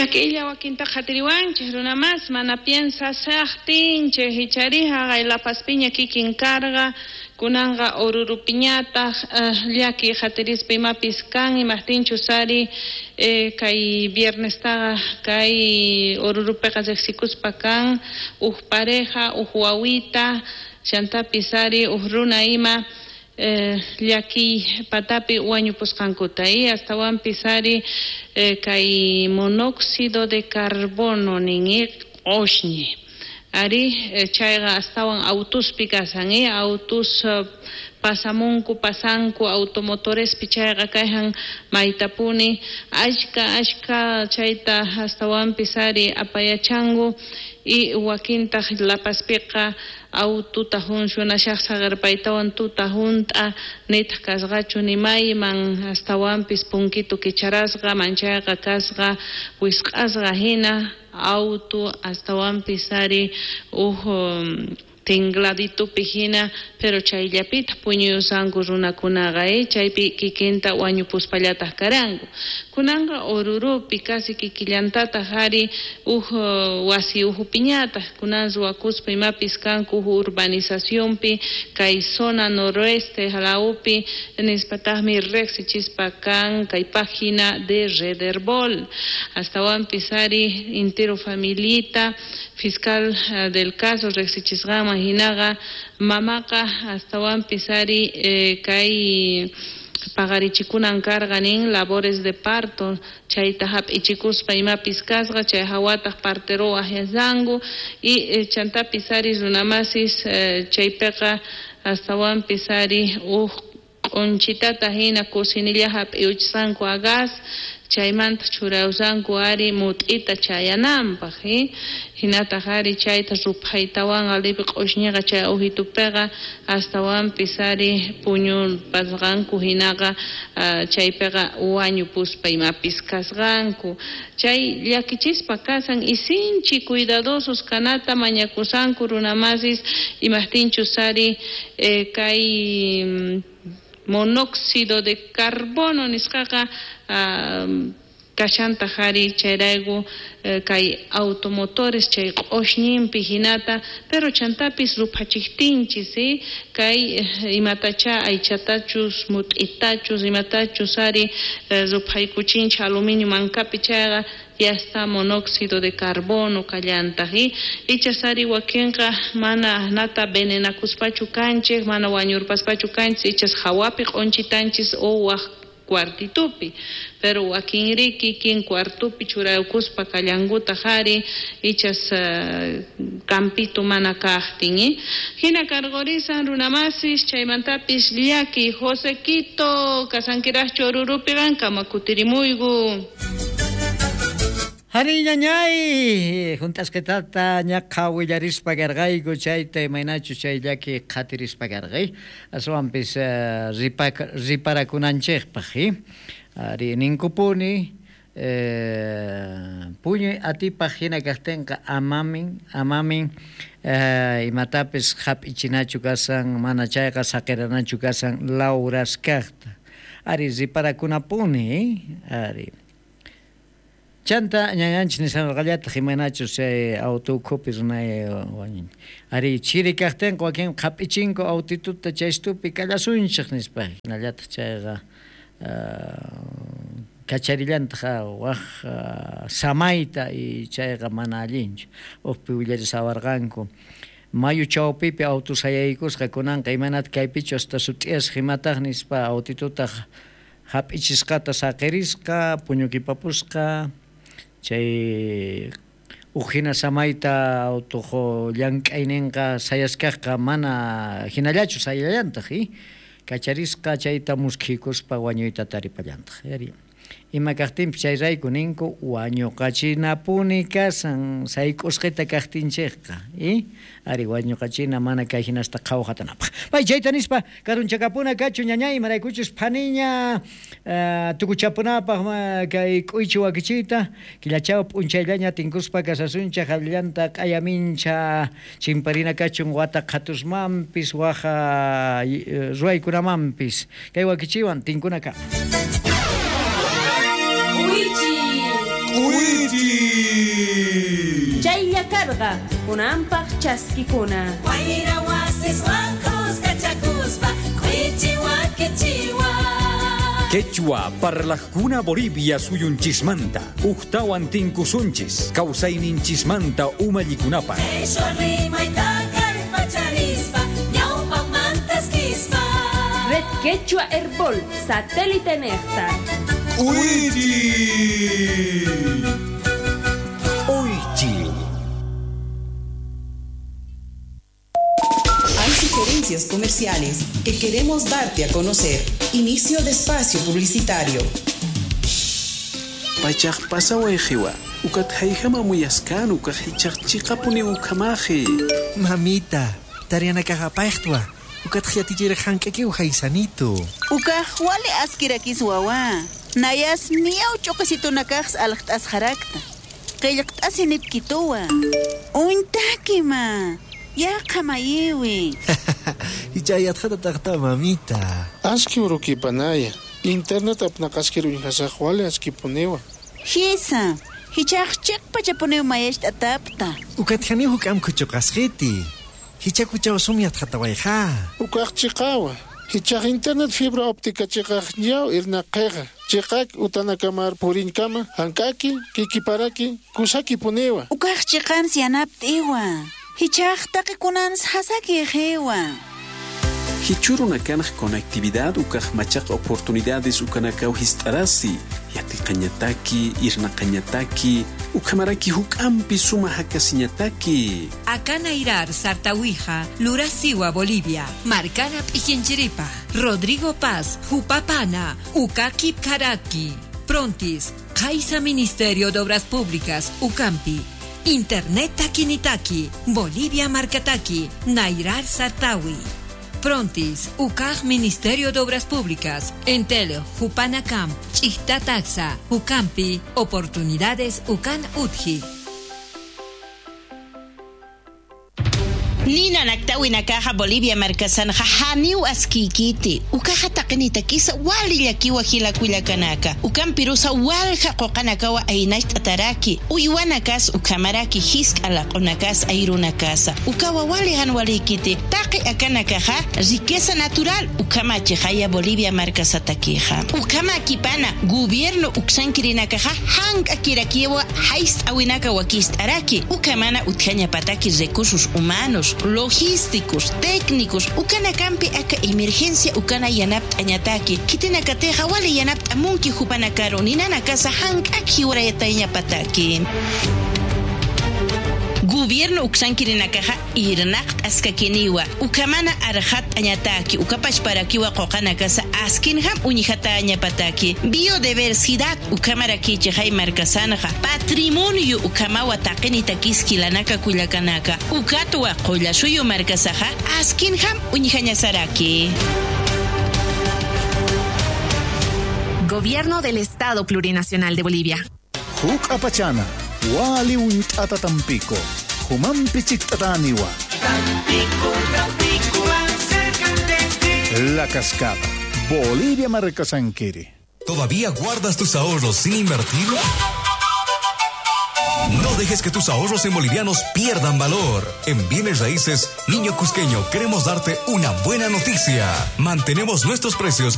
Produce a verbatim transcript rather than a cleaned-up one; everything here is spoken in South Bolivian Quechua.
Llakiylla wakinta qhatiriwanchik runa mas mana piensashaqtinchik ichari haqay La Pazpiña kikin karqa kunanqa Orurupiñataq llaki qhatirispa imapis kan imaqtinchus ari kay viernestaqa kay Orurupiqa riqsikuspa kan uj pareja uj wawita chantapis ari uj runa ima llakiy patapi wañupusqankuta y astawanpis ari kay monóxido de carbono nin q'ushñi ari chayqa astawan autuspi kasan autus pasamunku pasanku automotorespi chayqa kayhan maytapuni ashka ashka chayta astawanpis ari apayachanku y wakintaq La Pazpiqa aututa funcionashaq saqerpaytawan tuta hunt'a nitaq kasqachu nimayman astawanpis punkitu kicharasqa manchayqa kasqa wisq'asqa hina auto astawanpis ari uj tingladitupi hina pero chayllapitaq puñuyusanku runakunaqa chaypi kikinta wañupuspallataq karanku kunanqa Orurupi casi kikillantataq ari uj wasi ujupiñataq kunan ruwakuspa imapis kanku uj urbanizacionpi kay zona noroeste lawpi nispataqmi riqsichispa kan kay página de Rederbol astawanpis ari intero familita fiscal del caso riqsichisqanman hinaqa mamaqa astawanpis ari kay paqarichikunan karqa nin labores de parto chayta hap'ichikuspa imapis kasqa chay hawataq partero ahyasqanku y chantapis ari runamasis chaypiqa astawanpis ari uj q'unchitata hina kusinilla hap'iuchisqanku a gas chaymanta churayusanku ari mut'ita chayananpaq hinataq ari chayta ruphaytawan alipi q'ushñiqa chay ujitupiqa astawanpis ari puñupasqanku hinaqa chaypiqa wañupuspa imapis kasqanku chay llakichispa kasan y sinchi cuidadosos kanata mañakusanku runamasis imaqtinchus ari kay monóxido de carbono nisqaqa kashantaq ari chayrayku kay automotores chay q'ushñinpi hinata pero chantapis ruphachiqtinchis kay imatacha aychatachus mut'itachus imatachus ari ruphaykuchinchik aluminio mankapi chayqa ya está monóxido de carbono kallantaq ichas ari wakinqa mana nata venenakuspachu kanchik mana wañurpaspachu kanchik ichas hawapi q'unchitanchis o waq cuartitupi pero wakinri kikin cuartupi churaykuspa kallankutaq ari ichas campito mana kaqtin hina karqurisan runamasis chaymantapis llaki Josequito kasankiraqchu Orurupi qankama kutirimuyku. Hari ñañay juntasqitata ñaqa willarispa karqayku chayta imaynachu chay llaki qhatirispa karqay aswanpis riparakunanchikpaq ari ninkupuni puñuy atipaq hina kaqtinqa amamin amamin imatapis hap'ichinachu kasan mana chayqa saqiranachu kasan lawraskaqta ari riparakunapuni ari chanta ñañanchis nishanqallataq imaynachus chay auto ukhupi runay wañun ari chiri kaqtinqa wakin qhap'ichinku autituta chaystupi kallasunchik nispa hinallataq chayqa kacharillantaq waq samayta y chayqa mana allinchu uqpi willarisawarqanku mayu chawpipi auto sayaykusqa kunanqa imaynata kaypichu hasta sut'iyasqa imataq nispa autitutaq hap'ichisqata saqirisqa puñukipapusqa chay uj hina samayta autuq llank'ayninqa sayaskaqqa mana hinallachu sayallantaq kacharisqa chayta muskhikuspa wañuyta taripallantaq ima kaqtinpis chayrayku ninku wañuqachinapuni kasan sayk'usqita kaqtinchikqa ari wañuqachina mana kay hinasta qhawqatanapaq pay chayta nispa karunchakapuna kachu ñañay imaraykuchus phaniña tukuchapunapaq kay k'uychi wakichiyta killachaw p'unchayllaña tinkuspa kasasunchaq allanta q'ayamincha chimparina kachun wata qhatusmanpis waja ruwaykunamanpis kay wakichiwan tinkunaka. K'uychi. K'uychi. Chaylla karqa kunanpaq chaskikuna. Wayra wasiswan kuskachakuspa k'uychi wakichiwa. Quechua parlajkuna Bolivia suyunchismanta ujtawan tinkusunchis kawsayninchismanta umallikunapaq. Qheshwa rimayta kallpacharispa ñawpaqmantaskispa. Red Quechua Herbol, satélite nexta. K'uychi. Oychi. Hay sugerencias comerciales que queremos darte a conocer. Inicio de espacio publicitario. Pachaq pasawayqiwa, ukat hayhama muyaskan ukaq hichaq chiqapuni ukamaji. Mamita, tarianakaqapayqtwa, ukat hiatichira hank'aki uhaysanito. Ukaq wali askirakis wawa, nayas miyaw ch'uqisitunakaqs alqt'as harakta. Qillqt'asi nipkituwa. Untakima. Yaqa mayiwi. Hichayatqata taqta mamita. Aski urukipanaya. Internet apnaqaskiru inhasaq wali askipuniwa. Hisa, hichaq chiqpachapuniw mayashta atapta. Ukathani huk'am kuchuqasqiti. Hichakuchaw sumyatqatawayqa. Ukaq chiqawa. Hichaq internet fibra óptica chiqaq ñaw irnaqiqa. Chiqak utanakamar purinkama hank'aki kikiparaki kusaki puniwa. Ukaq chiqan sianapt'iwa. Hichaq taqikunans hasaki qiwa. Hichurunakanaj conectividad ukaj machaq oportunidades ukanakaw hist'arasi yatiqañataki irnaqañataki ukamaraki huk'ampi suma hakasiñataki. Akanairar Sartawija, Lurasiwa Bolivia, Marcana Pijinchiripa, Rodrigo Paz, Jupapana, Ukaki Karaki, Prontis, Kaisa Ministerio de Obras Públicas, Ucampi, Internet Takinitaki, Bolivia Marcataki, Nairar Sartawi. Prontis, U C A J Ministerio de Obras Públicas, Entel, Jupanacam, Chichtataxa, Ucampi, Oportunidades Ucan Utji. Nina naktawinakaja Bolivia markasanja haniu askikiti ukaja taqinitakisa walillakiwa hilakullakanaka ukampirusa walja qoqanakawa aynasht'ataraki uywanakas ukamaraki hisk'alaq'unakas ayrunakasa ukawa wali hanwalikiti taqi akanakaja riqueza natural ukamachijaya Bolivia markasatakija ukamakipana gobierno uksankirinakaja hank'akirakiwa hayst'awinaka wakist'araki ukamana utjañapataki recursos humanos logísticos, técnicos, ukanakampi aka emergencia ukana yanapt'añataki, kitinakateja wali yanapt'amunki jupanakaru ninanakasa hank'aki urayatayñapataki. Gobierno uksankirinakaja irnaq askakiniwa ukamana arjat añataki ukapachparakiwa qoqanakasa askinjam uñijatañapataki biodiversidad ukamarakichijay markasanja patrimonio ukamawa taqinitakiskilanaka kullakanaka ukatwa qollasuyu markasaja askinjam uñijañasaraki. Gobierno del Estado Plurinacional de Bolivia. Huk apachana. Wali unt'ata Tampico, Humampi chikt'ataniwa. Tampico, Tampico, acércate. La Cascada, Bolivia Marcasanquiri. ¿Todavía guardas tus ahorros sin invertir? No dejes que tus ahorros en bolivianos pierdan valor. En Bienes Raíces, Niño Cusqueño, queremos darte una buena noticia. Mantenemos nuestros precios